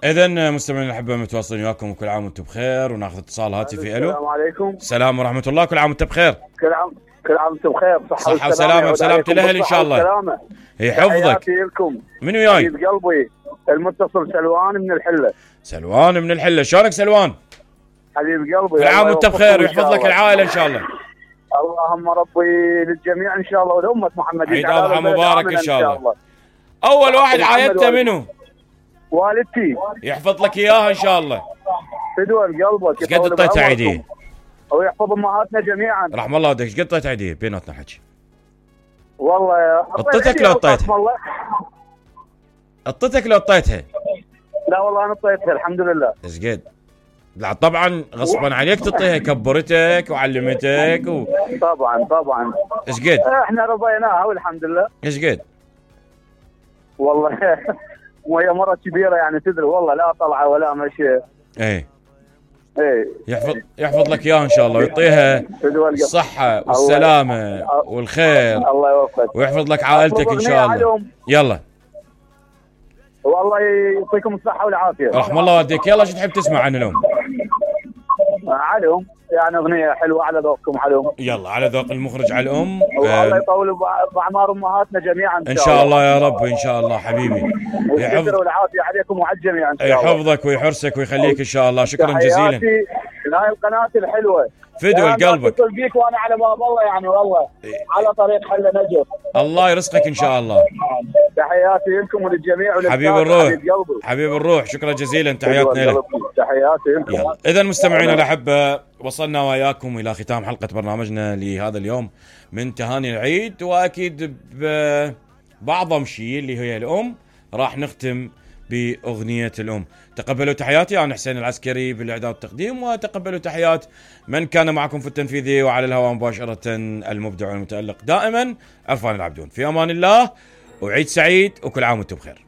اذا مستمعينا الاحبه متواصلين وياكم وكل عام وانتم بخير، وناخذ اتصال هاتفي. الو السلام عليكم. السلام ورحمه الله، كل عام وانتم بخير. كل عام وانتم بخير، صحه وسلامه وسلامه الاهل ان شاء الله. يحفظك. لكم من وياي؟ حبيب قلبي المتصل سلوان من الحله. سلوان من الحله، شلونك سلوان؟ حبيب قلبي، كل عام وانت بخير ويحفظ لك العائله ان شاء الله. اللهم ربي للجميع ان شاء الله ولامه محمد. عيد اضحى مبارك ان شاء الله. اول واحد عايدته منو؟ والدتي. يحفظ لك اياها ان شاء الله. فدوى قلبك. ايش قد اعطيتها عيديه؟ ويحفظ امهاتنا جميعا. رحم الله والديك. ايش قد اعطيتها عيديه بيناتنا حكي؟ والله اعطيتك لو اعطيتها؟ اعطيتك لو اعطيتها؟ لا والله انا اعطيتها الحمد لله. ايش قد؟ لا طبعا غصبا عليك تعطيها، كبرتك وعلمتك طبعا. ايش قد؟ احنا رضيناها والحمد لله. ايش قد؟ والله وهي مرة كبيرة يعني تدري، والله لا طلعة ولا مشي. ايه يحفظ لك اياها ان شاء الله، ويعطيها الصحة والسلامة والخير. الله يوفقك ويحفظ لك عائلتك ان شاء الله. يلا والله يعطيكم الصحة والعافية. رحم الله والديك. يلا شو تحب تسمع عن الام؟ عليهم يعني اغنية حلوة على ذوقكم عليهم. يلا على ذوق المخرج على الام. والله يطول باعمار امهاتنا جميعا ان شاء الله يا رب. ان شاء الله حبيبي. والخير والعافية عليكم وعلى الجميع ان شاء الله. يحفظك ويحرسك ويخليك ان شاء الله. شكرا جزيلا. هاي القناة الحلوة فدوى قلبك. اتصل بيك وانا على باب الله يعني والله على طريق حل نجف. الله يرزقك ان شاء الله. تحياتي لكم وللجميع حبيب الروح. حبيب الروح، شكرا جزيلا. تحياتنا لك. تحياتي لكم. اذا مستمعينا الاحبه، وصلنا وياكم الى ختام حلقه برنامجنا لهذا اليوم من تهاني العيد، واكيد باعظم شيء اللي هي الام راح نختم باغنيه الام. تقبلوا تحياتي، انا حسين العسكري بالاعداد والتقديم، وتقبلوا تحيات من كان معكم في التنفيذي وعلى الهواء مباشره المبدع والمتالق دائما عرفان العبدون. في امان الله وعيد سعيد وكل عام وانتم بخير.